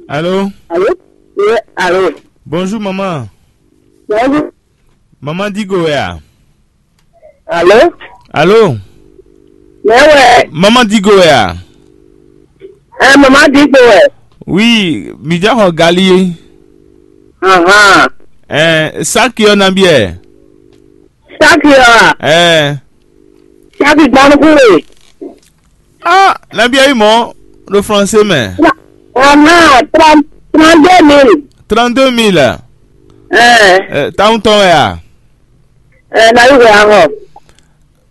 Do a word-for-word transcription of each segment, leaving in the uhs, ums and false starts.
Allô? Allô? Oui, allô? Bonjour, maman. Bonjour. Maman Digo wɛ a? Allô? Allô? Mais ouais. Maman Digo wɛ a? Eh, maman Digo wɛ. Oui, mi jɛ xɔ gali. Ahan. Eh, saki ɔ na biɛ. Saki ɔ a? Eh. Saki gbanuku we. Ah, na biɛ yi mɔ ɖo français mɛ. Ahan, trente deux mille. Trente-deux mille. Eh. Eh, tawun tɔn wɛ a? Eh, na yi wɛ ahɔ.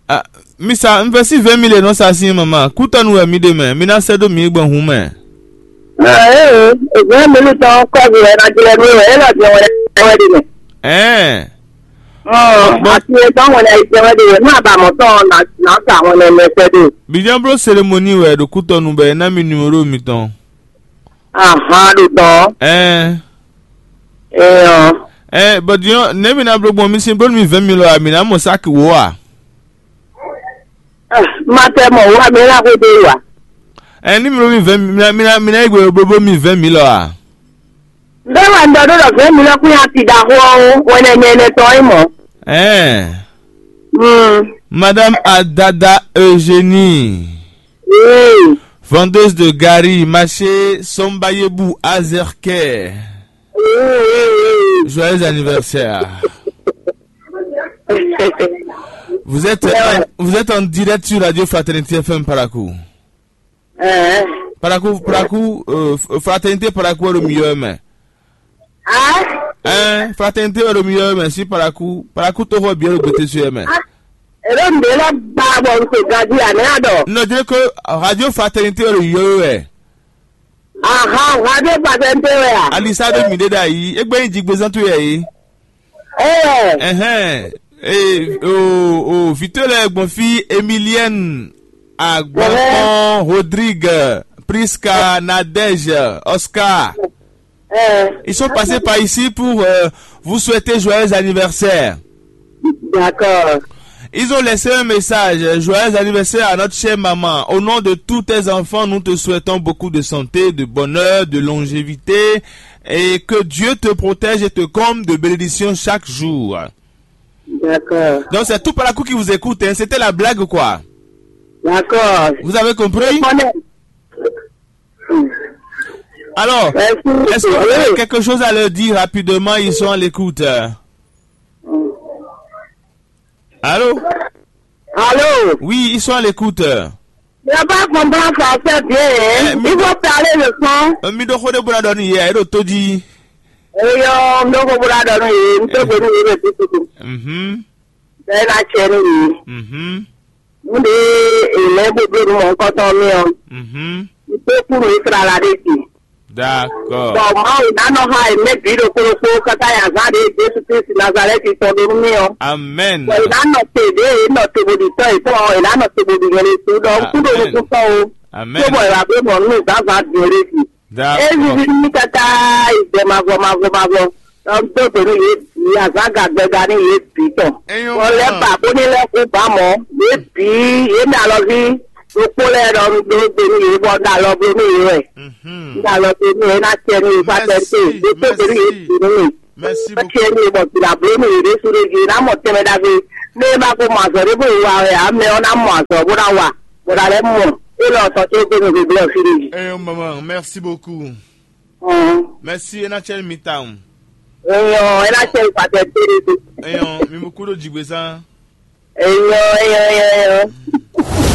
Ah, mi sa, un vɛ si vingt mille e nɔ sa sin mama. Kútɔnu wɛ mi ɖe mɛ, mi ná sɛ ɖo mi gbɔn hun mɛ. Ah, eh, eh, vingt mille tɔn kɔbi wɛ na jlɛ mi wɛ, e lɔ jɛ wɛ wɛ ɖe mɛ. Ɛɛ. Ɔn, ati e tɔn wɛ na yi jɛ wɛ ɖe mɛ, nú a ba mɔ tɔn na na sa wɛ nɛ mɛ kpɛ ɖe. Bidjan blo cérémonie wɛ ɖo kútɔnu bɛ ná mi numéro mitɔn. Ahan, ɖo tɔn. Ɛɛ. Eyɔ. Ɛɛ, bɔ diɔ ne mi na blo gbɔn mi sin blo mi vingt mille a mi na mɔ saki wo a? Ah, ma tɛ mɔ wa mi la ko de wa. Ɛɛ, ni mi blo mi vingt mi na mi na mi na yi gbe blo blo mi vingt mille a? Bẹ́ẹ̀ wà ń dọdún lọ fẹ́ mi lọ́kùnrin àti ìdáhùn ọ̀hún wẹ̀nẹ̀mẹ̀nẹ̀ tọ́ ẹ̀ mọ́. Ɛɛ. Hmm. Madame Adada Eugénie, Oui. Vendeuse de gari, marché Sombayebu Azerke. Oui, oui, oui. Joyeux anniversaire. Vous êtes, en, vous êtes en direct sur Radio Fraternité F M Parakou. Ɛɛ. Parakou, Parakou, euh, Fraternité Parakou wɛ ɖo mi yɔ mɛ. Ah? Ɛɛ, Fraternité wɛ ɖo mi yɔ mɛ si Parakou, Parakou to xɔ biɛ ɖo gbete su yɛ mɛ. Elo nde lɔ ba bɔ n se gadi ane adɔ. Non, je dis que Radio Fraternité wɛ ɖo yɔ wɛ. Aha, Radio Fraternité wɛ a? Alisa ɖo mi ɖe ɖa yi, egbe nyi jigbezan to yɛ yi. Ɛɛ. Ɛhɛn. Ee, o, o, vǐ towe lɛ́ɛ gbɔn fí: Emilienne, Agbakɔn, Rodrigue, Prisca, Nadège, Oscar. Ɛɛ. Ils sont passés par ici pour, euh, vous souhaiter joyeux anniversaire. D'accord. Ils ont laissé un message. Joyeux anniversaire à notre chère maman. Au nom de tous tes enfants, nous te souhaitons beaucoup de santé, de bonheur, de longévité, et que Dieu te protège et te comble de bénédictions chaque jour. D'accord. Donc c'est tout Parakou qui vous écoute, hein. C'était la blague, quoi. D'accord. Vous avez compris? Alors, est-ce que vous avez quelque chose à leur dire rapidement? Ils sont à l'écoute. Allô? Allô? Oui, ils sont à l'écoute. Je pas comprendre français bien, hein. Eh, mi- Il faut parler le son. Euh, mi ɖo xó ɖé bó ná ɖɔ nú yě, é ɖo tó jí. Eyɔ, n ɖo xó bó ná ɖɔ nú yě, n tó gbé nú yě ɖo títí. Mhm. Bɛɛ ná tsɛ nú yě. Mhm. N ɖe èlɛ́ gbogbo nú mɔ̌hunkɔtɔn mì ɔ́. Mhm. N tó kú nú Ísraɛl ɖé jí. D'accord. Bɔ Mawu ná nɔ xa yě mɛ bǐ ɖokpó ɖokpó káká yi azǎn ɖě Jezu Klísu Nazalɛ́ti tɔn ɖó nú mì ɔ́. Amen. Bɔ è nǎ nɔ te ɖě è nɔ te bó ɖi tɔ́ yětɔn ɔ́, è nǎ nɔ te bó ɖi nyɛ ɖésú ɖɔ un kú ɖo nukúntɔ́ o. Amen. Cóbɔ è wǎ bló mɔ nú zǎnzǎn din ɖé jí. É D'accord. Zizi nú mì káká yi gbɛ mavɔ mavɔ mavɔ. Ɖɔ un dó gbe nú yě bǐ azǎn gagbɛga nú yě bǐ tɔn. Bɔ lɛ́ ba bó ní lɛ́ kú ba mɔ̌, yě bǐ yě mɛ alɔví ɖokpó lɛ́ɛ ɖɔ un dó gbe nú yě bɔ un ɖo alɔ bló nú yě wɛ. Mhm. Un ɖo alɔ bló nú yě ná cɛ nú yě fá tɛ́ té, Merci, ɖokpó gbe nú yě merci. Bǐ nú mì. Merci Ná beaucoup. Cɛ nú yě bɔ bǐ ná bló nú yě ɖésú ɖé jí, yě ná mɔ tɛnmɛ ɖagbe. Ní é má ko mɔ azɔ̌ ɖé bó yi wa wɛ ǎ, mɛ ɔ́ ná mɔ azɔ̌ bó ná wa, bó ná lɛ́ mɔ. É lɔ tɔn tó gbé nú gbégbé ɔ́ fí ɖé jí. Eh, maman, merci beaucoup. Ɔn. Merci, é ná cɛ nú mi tawun. Eyɔn, é ná cɛ nú fá tɛ́ té ɖé. Eyɔn, mi mú kú ɖo jǐgbezán. Eyɔn, eyɔn, eyɔn, eyɔn.